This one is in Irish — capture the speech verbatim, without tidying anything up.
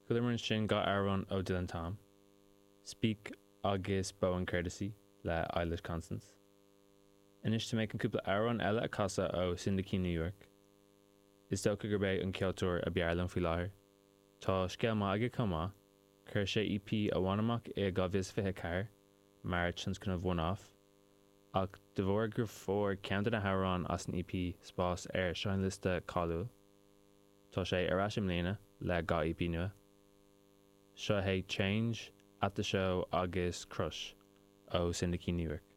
Chualamar ansin dhá amhrán ó Dylan Tom, Speak agus Bow and Courtesy le Eilish Constance. Anois tá mé chun cúpla amhrán eile a chasadh ó Cindy New York. Is dócha gurb é an ceoltóir ab fhearr liom faoi láthair. Tá scéal maith aige chomh maith, chuir sé EP amháin amach i dhá mhíle fiche ceathair mar tionscnamh one-off, ach de bharr gur fuair ceann de na hamhráin as an EP spás ar seinnliosta cáiliúil, tá sé ar ais i mbliana le dhá EP nua. Seo é Change at the Show agus Crush ó Cindy New York.